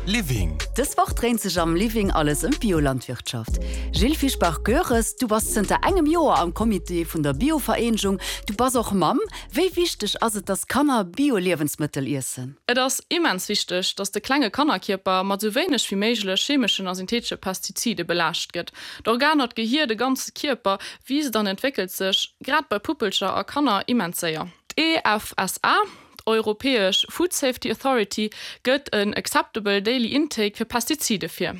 Living. Dës Woch dréint sech am Living alles ëm d'Biolandwirtschaft. Jill Fischbach-Goeres, du bass zënter engem Joer am Comité vun der Biovereenegung. Du bass och Mamm. Wéi wichteg ass et, dass Kanner Bio-Liewensmëttel iessen? Et ass immens wichteg, dass de klenge Kannerkierper mat sou wéineg wéi méiglech chemeschen a synthetesche Pestizide belaascht gëtt. D'Organer, d'Gehier, de ganze Kierper wiisst an entwéckelt sech, grad bei Puppelcher a Kanner, immens séier. D'EFSA, d'Europäesch Food Safety Authority, gëtt en Acceptable Daily Intake fir Pestizide vir.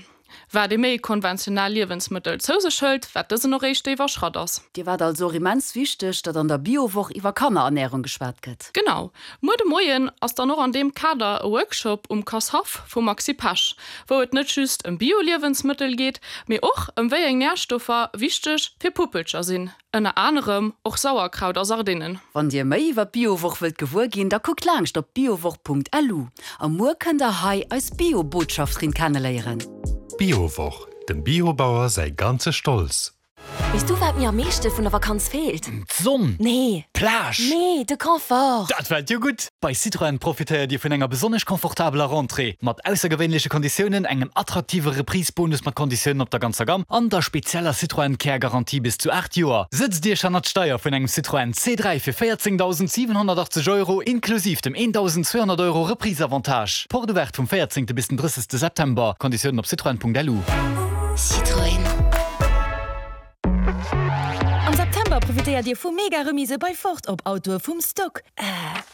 Wat ee méi konventionell Liewensmëttel zou sech hëlt, wat dësen och réischt déif a Schratt ass. Dir war et also och immens wichteg, datt an der Biowoch iwwer Kannerernärung geschwat gëtt. Genau. Muer de Moien ass dann och an deem Kader e Workshop um Kass-Haff vum Maxi Pesch, wou et net just ëm Bio-Liewensmëttel geet, mee och ëm wéi eng Närstoffer wichteg fir Puppelcher sinn. Ënner anerem och Sauerkraut a Sardinnen. Wann dir méi iwwer d'Biowoch wëllt gewuer ginn, da kuckt laangscht op biowoch.lu. A muer kënnt der hei eis Bio-Botschafterin kenneléieren. D'Biowoch, dem Biobauer säi ganze Stolz! Weess du wat mir am meeschte vun der Vakanz feelt? D'Sonn! Nee. D'Plage! Nee, de Confort! Dat welt jo gutt! Bei Citroën profitéiert Dir vun enger besonnesch confortabeler Rentrée, mat aussergewéinleche Konditiounen, engem attraktive Reprise-Bonus mat Konditiounen op der ganzer Gamm an der spezieller Citroën Care Garantie bis zu 8 Joer. Sëtzt Iech hannert d'Steier vun engem Citroën C3 fir 14.780 Euro inklusiv dem 1.200 Euro Reprise-Avantage. Porte ouverte vum 14. bis den 30. September. Konditiounen op citroën.lu. Citroën. Am September profitéiert Dir vu mega Remise bei Ford op Autoe vum Stock. Äh,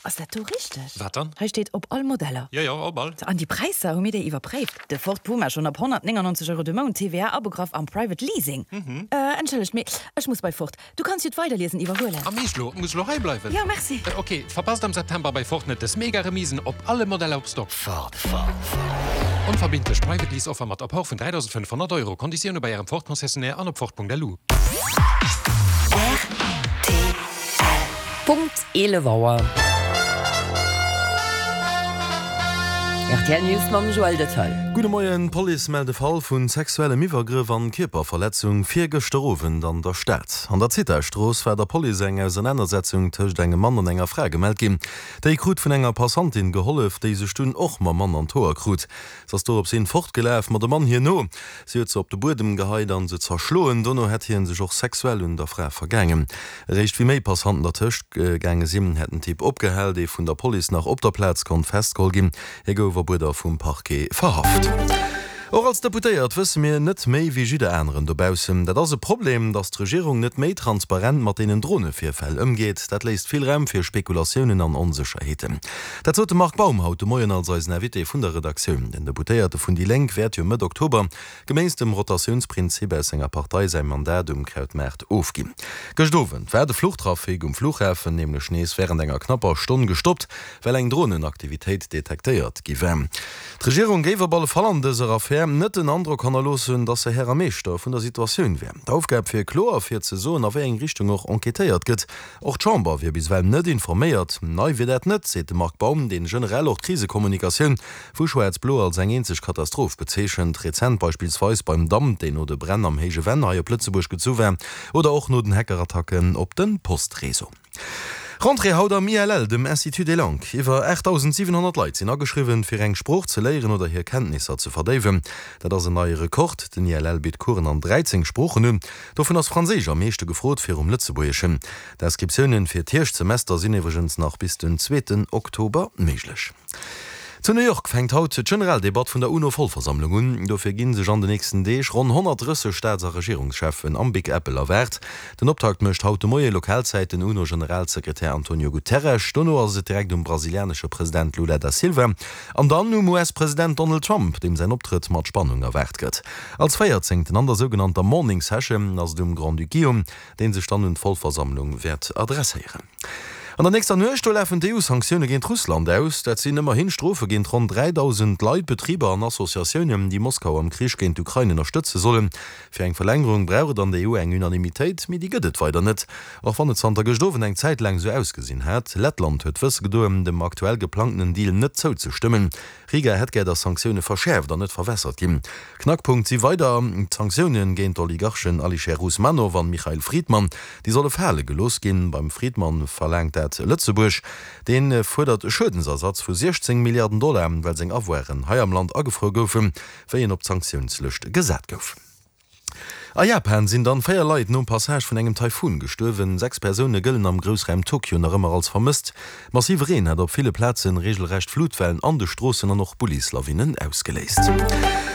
ass dat do richteg? Wat dann? Hei steet op all Modeller. Jo, jo, op all. An déi Präisser, hu mir déi iwwerpréift? De Ford Puma schonn ab 199 Euro de Mount, TVA abegraff am Private Leasing. Äh, entschëllegt, mee ech muss bei Ford. Du kanns jo d'Weiderliesen iwwerhuelen. A meescht lo? Muss lo hei bleiwen? Jo, merci. Ok, verpasst am September bei Ford net des mega Remisen op alle Modeller op Stock. Ford, Ford, Ford. Onverbindlech Private Lease Offer mat Apport vun 3.500 Euro. Konditioune bei Ärem Ford Concessionnaire an op Ford.lu. Rtl. Punkt 11 Auer. Rtl News mam Joël Dethel. Gudde Moien, D'Police mellt e Fall vu sexuellem Iwwergrëff an Kierperverletzung virgëschter Owend an der Stad. An der Zithastrooss war der Police eng Ausernanersetzung tëscht engem Mann an enger Fra gemellt ginn. Déi krut vun enger Passantin gehollef, déi sech dunn och mam Mann an d'Hoer krut. Se ass dorops hin fortgelaf, ma de Mann hir no. Si huet se op de Buedem geheit an se zerschloen. Dono hätt hien sech och sexuell un der Fra vergaangen. Eréischt wéi méi Passanten dertëscht gaange sinn, hätt den Typ opgehal, dee vun der Police nach op der Plaz konnt festgeholl ginn. Hie gouf op Uerder vum Parquet verhaft. Och als Deputéiert wësse mir net méi wéi jidder aneren dobaussen. Dat ass e Problem, datt d'Regierung net méi transparent mat deenen Dronevirfäll ëmgeet. Dat léisst vill Raum fir Spekulatiounen an Onsécherheeten. Dat sot de Marc Baum haut de Moien als eisen Invité vun der Redaktioun. Den Deputéierte vun déi Lénk wäert jo Mëtt Oktober geméiss dem Rotatiounsprinzip aus senger Partei säi Mandat um Krautmaart ofginn. Gëscht Owend war de Fluchtrafic um Flughafen nämlech nees wärend enger knapper Stonn gestoppt, well eng Dronenaktivitéit detektéiert gi war. D'Regierung géif op alle Fall an dëser Affär net den Androck hannerloossen, datt se Här a Meeschter vun der Situatioun wär. D'Aufgab wier kloer, fir ze soen, a wéi eng Richtung och enquêtéiert gëtt. Och d'Chamber wier bis ewell net informéiert. Nei wier dat net, seet de Marc Baum, deen generell och d'Krisekommunikatioun vu Schwaarz-Blo als eng eenzeg Katastroph bezeechent. Rezent beispillsweis beim Damp, deen no de Bränn am Héije Venn hei op Lëtzebuerg gezu war, oder och no den Hackerattacken op de Postreseau. Rentrée haut am ILL, dem Institut des Langues. Iwwer 8.700 Leit sinn ageschriwwen, fir eng Sprooch ze léieren oder hir Kenntnisser ze verdéiwen. Dat ass en neie Rekord. Den ILL bitt Coursen an 13 Sproochen un. Dovun ass Franséisch am meeschte gefrot, virum Lëtzebuergeschen. D'Inscriptiounen fir d'Hierschtsemester sinn iwwregens nach bis den zweeten Oktober méiglech. Zu New York fänkt haut d'Generaldebatt vun der UNO-Vollversammlung un. Dofir gi sech an de nächsten Deeg ronn 130 Staats a Regierungscheffen am Big Apple erwaart. Den Optakt mécht haut de Moie Lokalzäit den UNO-Generalsekretär Antonio Guterres. Dono ass et direkt um brasilianesche President Lula da Silva an dann um US-President Donald Trump, deem säin Optrëtt mat Spannung erwaart gëtt. Als Véierzéngten an der sougenannter Morning Session ass et um Grand-Duc Guillaume, dee sech dann un d'Vollversammlung wäert adresséieren. An der nächster Nuecht, do lafen d'EU-Sanktioune géint Russland aus. Dat sinn ëmmerhin Strofe géint ronn 3.000 Leit, Betriber an Associatiounen, déi Moskau am Krich géint d'Ukrain ënnerstëtze sollen. Fir eng Verlängerung brauch et an der EU eng Unanimitéit, mee déi gëtt et weider net. Och wann et zanter gëscht Owend eng Zäit laang esou ausgesinn hat. Lettland huet wësse gedoen, dem aktuell geplangtenen Deal net zouzestëmmen. Riga hätt gär, datt Sanktioune verschäerft an net verwässert ginn. Knackpunkt si weider d'Sanktioune géint d'Oligarchen Alisher Usmanov an Michail Fridman. Déi solle fale gelooss ginn. Beim Fridman verlaangt dat. Stad Lëtzebuerg. Dee fuerdert e Schuedensersatz vu 16 Milliarden Dollar, well seng Avoiren hei am Land agefruer goufen, wéi en op d'Sanktiounslëscht gesat gouf. A Japan sinn dann 4 Leit nom Passage vun engem Taifun gestuerwen. 6 Persoune gëllen am Groussraum Tokio nach ëmmer als vermësst. Massive Reen hat op ville Plaze reegelrecht Flutwellen an de Stroossen an och Bullislawinnen ausgeléist.